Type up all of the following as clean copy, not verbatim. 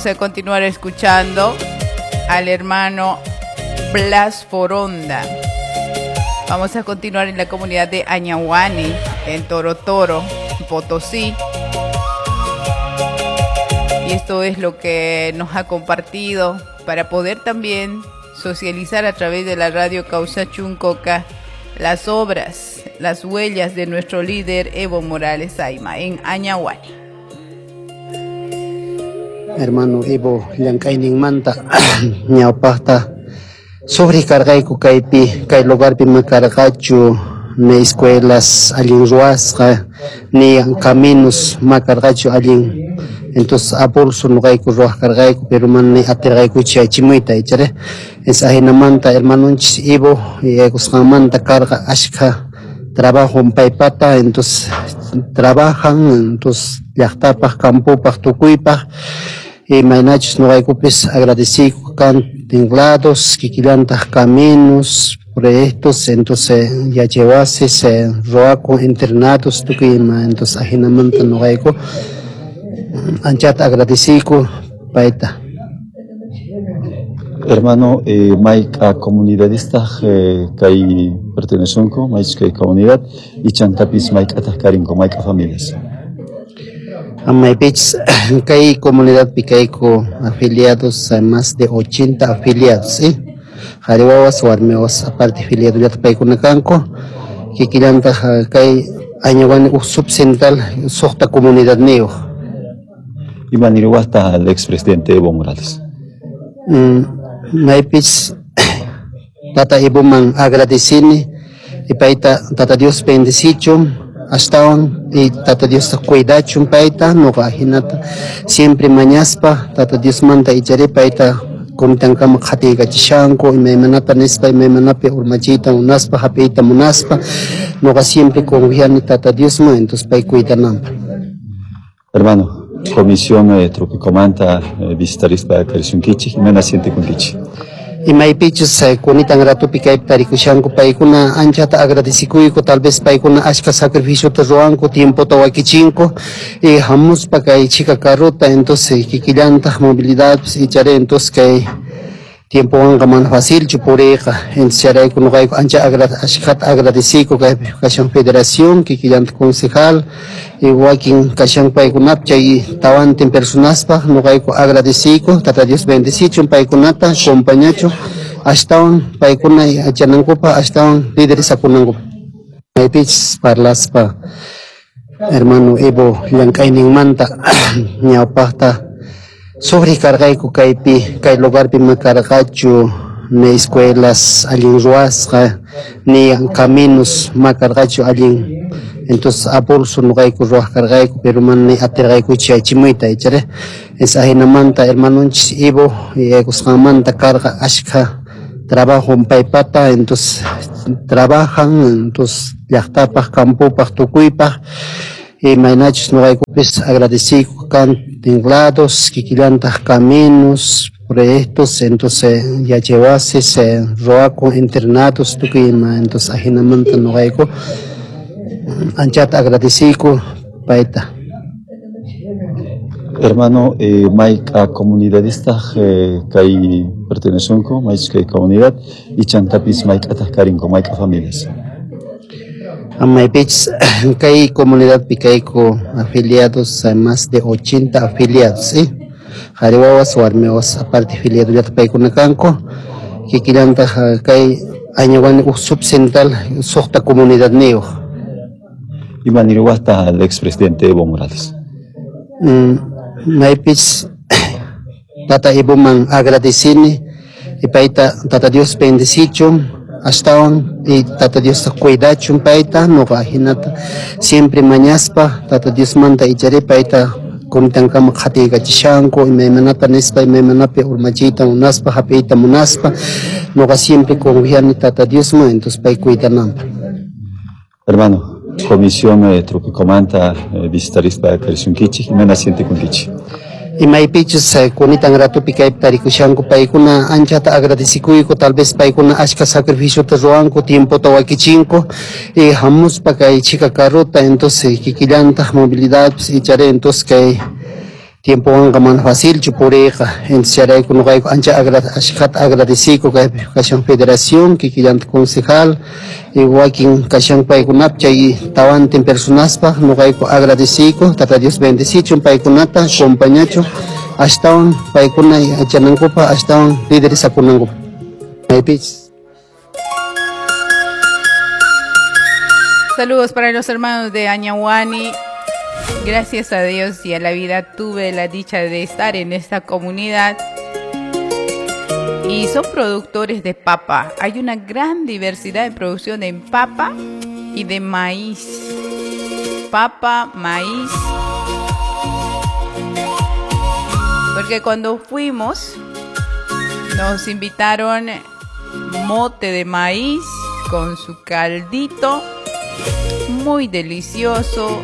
Vamos a continuar escuchando al hermano Blas Foronda. Vamos a continuar en la comunidad de Añahuani, en Toro Toro, Potosí. Y esto es lo que nos ha compartido para poder también socializar a través de la radio Causa Chuncoca las obras, las huellas de nuestro líder Evo Morales Ayma en Añahuani. Hermano Evo llank'ayninmanta ñawpaqta sufriq karqayku kaypi kay lugarpi makarqachu ni escuelas allin ruwasqa ni caminos makarqachu allin. Entonces a pulso nuqayku ruwaq karqayku, pero mana ni atirqaykuchu yachimuyta ichari. Es ajinamanta hermanonchis Evo yaykusqanmanta karqa ashkha trabajo paypata, entonces trabajan, entonces llaqtapaq, campopaq, tukuypaq. Imaynachus nuqaykupis agradeciyku kan tinglados, kikillantaq caminos, proyectos, entonces yachaywasis, ruwakun internados, tukuy ima, entonces ajinamanta nuqayku anchata agradeciyku payta. Hermano, mayk'a comunidadistaq kay pertenecenku, maychus kay comunidad, y chantapis mayk'ataq karinku, mayk'a familias. Maypichis kay comunidadpi kayku afiliados, más de 80 afiliados, ¿sí? Qhari wawas, warmi wawas, aparte afiliadollata paykuna kanku. Kikillantaq kay Añahuani uj subcentral suqta comunidadniyuq. Ima niriwaqtaq al expresidente Evo Morales? Maypis tata Evoman agradecini y payta tata Dios bendecichun astawan y tata Dios cuidachun payta nuqa jinata siempre mañaspa tata Diosmanta ichari payta kunitankama qhatiykachishanku imaymanata nispa imaymanapi urmachiyta munaspa hap'iyta munaspa nuqa siempre confiani tata Diosman, entonces pay cuidananpaq. Hermano, comisión Tropicomanta visitarispa karisunkichik, imayna sientekunkichik? Imaypichus kunitan ratupi kaypi tarikushanku paykuna anchata agradecikuyku, tal vez paykuna ashka sacrificiota ruwanku, tiempota wakichinku y hamuspa kay chika carrota, entonces kikillantaq movilidadpis ichari, entonces kay tiempowanqa mana facilchu puriyqa, entonces chayrayku nuqayku ancha ashkhata agradeciyku kay kashan federación, kikillantaq concejal y wakin kashan paykunap chay tawantin personaspaq nuqayku agradeciyku, tata Dios bendecichun paykunata, acompañachun ashtawan paykuna yachanankupaq, ashtawan liderizakunankupaq. Maypichis parlaspa hermano Evo llank'ayninmanta ñawpaqta sufriq karqayku kaypi kay lugarpi makarqachu ni escuelas allin ruwasqa ni caminos makarqachu allin, entonces a pulso nuqayku ruwaq karqayku, pero mana ni atirqaykuchu yachimuyta ichari. Es ajinamanta hermanonchis Evo yaykusqanmanta karqa ashkha trabajo paypata, entonces trabajan, entonces llaqtapaq, campopaq, tukuypaq. Imaynachus nuqaykupis agradeciyku kan tinglados, kikillantaq caminos, proyectos, entonces yachaywasis, ruwakun internados, tukuy ima, entonces ajinamanta nuqayku anchata agradeciyku payta. Hermano, mayk'a comunidadistaq kay pertenecenku, maychus kay comunidad, y chantapis mayk'ataq karinku, mayk'a familias. Maypichis kay comunidadpi kayku afiliados, más de 80 afiliados, ¿sí? Qhari wawas, warmi wawas, aparte afiliadollata paykuna kanku. Kikillantaq kay Añahuani uj subcentral suqta comunidadniyuq. Ima niriwaqtaq al expresidente Evo Morales? Maypis tata Evoman agradecini y payta tata Dios bendecichun ashtawan y tata Dios cuidachun payta nuqa jinata siempre mañaspa tata Diosmanta ichari payta kunitankama qhatiykachishanku imaymanata nispa imaymanapi urmachiyta munaspa hap'iyta munaspa nuqa siempre confiani tata Diosman, entonces pay cuidananpaq. Hermano, comisión Tropicomanta visitarispa karisunkichik, imayna sientekunkichik? Imaypichus kunitan ratupi kaypi tarikushanku paykuna anchata agradecikuyku, tal vez paykuna ashka sacrificiota ruwanku, tiempota wakichinku y hamuspa kay chika carrota, entonces kikillantaq movilidadpis ichari, entonces kay Tiempowanqa mana facilchu puriyqa. Entonces chayrayku nuqayku ancha ashkhata agradeciyku kaypi kashan federación, kikillanta concejal y wakin kashan paykunapi chay tawantin personaspaq nuqayku agradeciyku. Tata Dios bendecichun paykunata, acompañachun ashtawan paykuna yachanankupaq, ashtawan liderizakunankupaq. Maypichis. Saludos para los hermanos de Añahuani. Gracias a Dios y a la vida tuve la dicha de estar en esta comunidad. Y son productores de papa. Hay una gran diversidad de producción en papa y de maíz. Papa, maíz. Porque cuando fuimos, nos invitaron mote de maíz con su caldito, muy delicioso.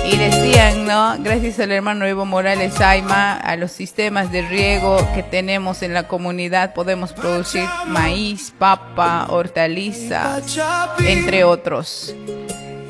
Y decían, ¿no? Gracias al hermano Evo Morales Aima, a los sistemas de riego que tenemos en la comunidad, podemos producir maíz, papa, hortaliza, entre otros.